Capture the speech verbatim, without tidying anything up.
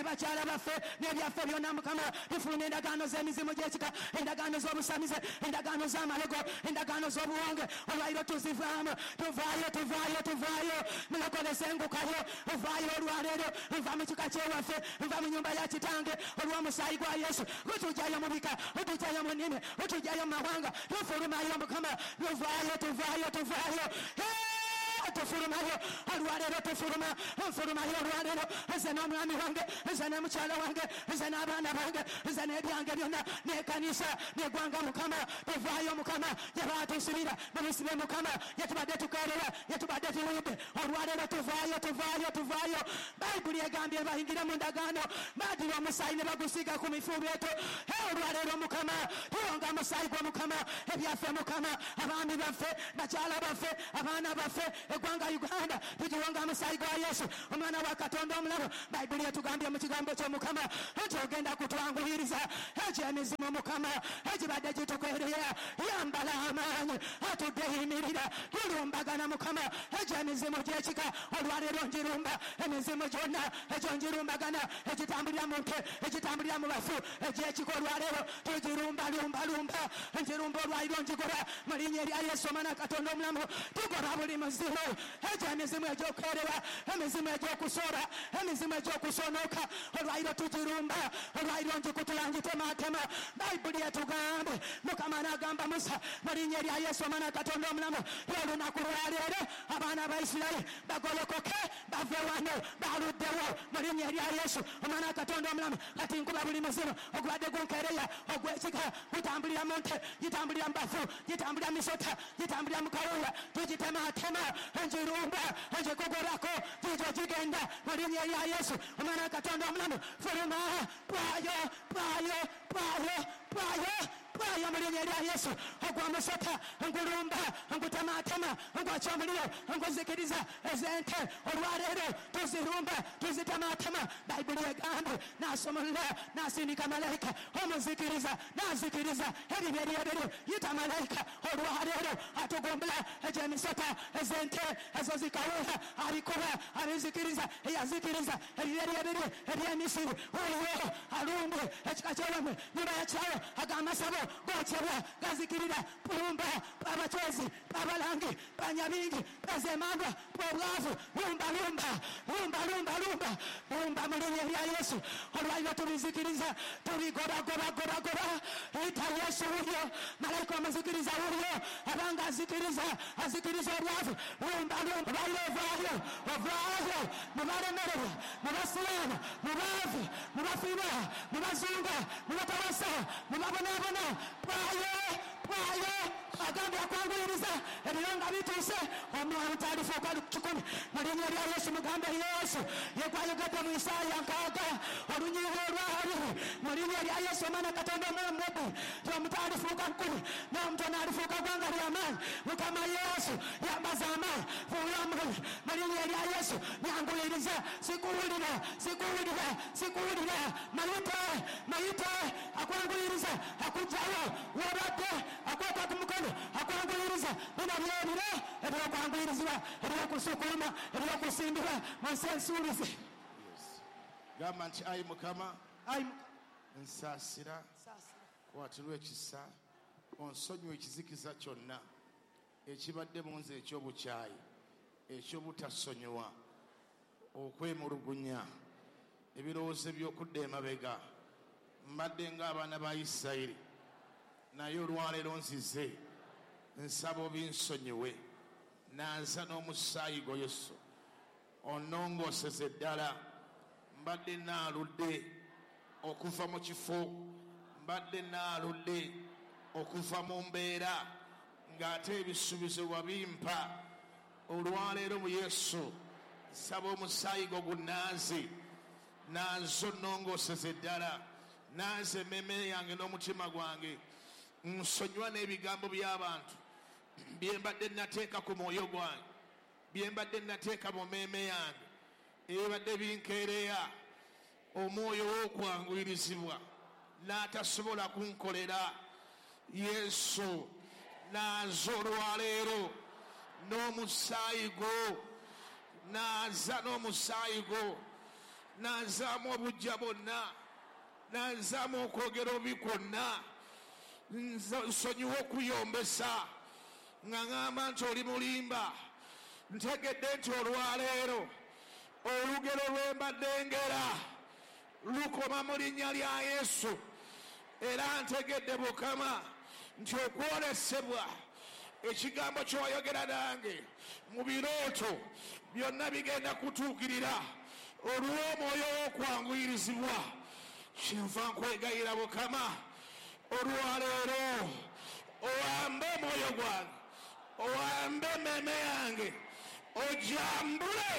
Bakyala baffe n'ebyaffe byonna Mukama, tufuluma endagaano z'emizimu gy'ekika, endagaano z'obusamize, endagaano z'amalogo, endagaano z'obuwonge. Olwaliro tuzivaamu, tuvaayo, tuvaayo, tuvaayo. Mulokole sengukayo, ovaayo olwaleero. Nva mu kika kyewaffe, nva mu nyumba ya kitange olw'omusaayi gwa Yesu. Gutujjayo mu bika, gutujjayo mu nnimi, gutujjayo mu mawanga. Tufulumayo Mukama, tuvaayo, tuvaayo, tuvaayo. Tufulumayo olwaleero, tufuluma, nfulumayo olwaleero. Nze n'omwami wange, nze ne mukyala wange, nze n'abaana bange, nze n'ebyange byonna, n'ekkanisa n'eggwanga Mukama. Tuvaayo Mukama, gye baatusibira mubisibe Mukama, gye tubadde tukeerera, gye tubadde tuludde. Olwaleero tuvaayo, tuvaayo, tuvaayo. Bayibuli egambye bayingire mu ndagaano, baddira omusaayi ne bagusiiga ku mifuubeeto. Olwaleero Mukama, tuwonga omusaayi gwa Mukama, ebyaffe Mukama, abaami baffe, bakyala baffe, abaana baffe, eggwanga Uganda, tugiwonga omusaayi gwa Yesu omwana wa Katonda omulamu. Bayibuli etugambye mu kigambo ky'Omukama nti ogenda kutwanguyiriza egy'emizimu Mukama egibadde gitukeerera. Yambala amaanyi, atudde yimirira, tulumbagana Mukama egy'emizimu gy'ekika. Olwaleero njirumba emizimu gyonna egyo njirumbagana, egitambulira mu nte, egitambulira mu bafu, egy'ekika. Olwaleero tugirumba lumba lumba, njirumba olwaliro, njigoba mu linnya erya Yesu omwana Katonda omulamu. Tugoba buli muzimu, egy'emizimu egy'okwerewa, emizimu egy'okusooba, emizimu egy'okusonoka. Olwaliro tugirumba, olwaliro njikutula, njitematema. Bayibuli etugambe Mukama n'agamba Musa mu linnya erya Yesu omwana Katonda omulamu, olunaku lwaleero abaana ba Isirayiri bagolokoke bave wano baluddewo mu linnya erya Yesu omwana Katonda omulamu. Kati nkuba buli muzimu ogubadde gunkeereya ogw'ekika, gutambulira mu nte, gitambulira mu bafu, gitambulira mu misota, gitambulira mu kawuula, tugitematema, njirumba, njikugobako, gigyo gigenda mu linnya erya Yesu omwana Katonda omulamu. Fuluma, pwayo, pwayo, pwayo, pwayo, pwayo mu linnya erya Yesu. Ogwa musota ngulumba, ngutematema, ngwokya omuliro, nguzikiriza ez'ente. Olwaleero tuzirumba, tuzitematema. Bayibuli egambye n'asumulula, n'asindika malayika omuzikiriza, n'azikiriza ebibi ebyebiri. Yita malayika olwaleero atugumbula egy'emisota, ez'ente ezo zikawuula, abikuba, abizikiriza, eyazikiriza ebibi ebyebiri eby'emisiri. Wuuyo alumbe ekika ky'ewamwe, nyumba ya kyawo, ag'amasabo gokyebwa, gazikirira. Pulumba abachwezi, abalangi, banyabingi, bazemandwa, obwavu. Lumba, lumba, lumba, lumba, lumba, lumba mu linnya erya Yesu. Olwaliro tubizikiriza, tubigoba, goba, goba, goba. Yita Yesu wuuyo, malayika omuzikiriza wuuyo, abanga azikiriza, azikiriza obwavu. Lumba, lumba, olwaliro ovaayo, ovaayo mu balemererwa, mu basiraamu, mu baavu, mu bafiirwa, mu bazunga, mu batawasa, mu babonaabona. Pwayo, pwayo. Agambye akwanguyiriza ebiro nga bituuse, omwana talifuuka kikumi mu linnya erya Yesu. Mugambe Yesu ye gwayogedde mu Isaaya nkaaga olunyiriri olwabiri mu linnya erya Yesu omwana Katonda omulamu ti omuto alifuuka nkumi n'omutono alifuuka ggwanga ly'amaanyi. Mukama Yesu yambaza amaanyi, fuula omuliro mu linnya erya Yesu. Nyanguyiriza, sikuwulira, sikuwulira, sikuwulira. Mayite, mayite, akwanguyiriza, akuggyayo w'obadde, akwata ku mukono, akwanguyiriza. Bino byebiro ebyokwanguyirizibwa, ebyokusukuluma, ebyokusimbibwa mu nsi ensuubize. Gamba nti ayi Mukama, nsaasira, kwatirwa ekisa, onsonyiwe ekizikiza kyonna ekibadde mu nze eky'obukyayi, ekyobutasonyiwa, okwemulugunya, ebirowoozo eby'okudda emabega. Mbadde ng'abaana ba Isirayiri, naye olwaleero nzize nsaba obinsonyiwe. Nanza n'omusaayi gwo Yesu, onnongooseze ddala. Mbadde naaludde okuva mu kifo, mbadde naaludde okuva mu mbeera, ng'ate ebisuubizo wabimpa. Olwaleero mu Yesu nsaba omusaayi gwo gunnaaze, nanze onnongooseze ddala, nanze emmeeme yange n'omutima gwange. Nsonyiwa n'ebigambo by'abantu bye mbadde nateeka ku mwoyo gwange, bye mbadde nateeka mu mmeeme yange, ebibadde binkeereya omwoyo w'okwanguyirizibwa n'atasobola kunkolera. Yesu naaza olwaleero n'omusaayi gwo, naaza n'omusaayi gwo. Nazaamu obujja bwonna, nazaamu okwogera obi kwonna. Nsonyiwa okuyombesa nga ŋŋamba nti oli mulimba. Ntegedde nti olwaleero olugero lwe mbadde ngera lukoma mu linnya lya Yesu. Era ntegedde Mukama nti okwolesebwa ekigambo ky'oyogera nange mu birooto byonna bigenda kutuukirira olw'omwoyo w'okwanguyirizibwa. Kyenva nkwegayira Mukama olwaleero owambe omwoyo gwange, owambe emmeeme yange, ojambule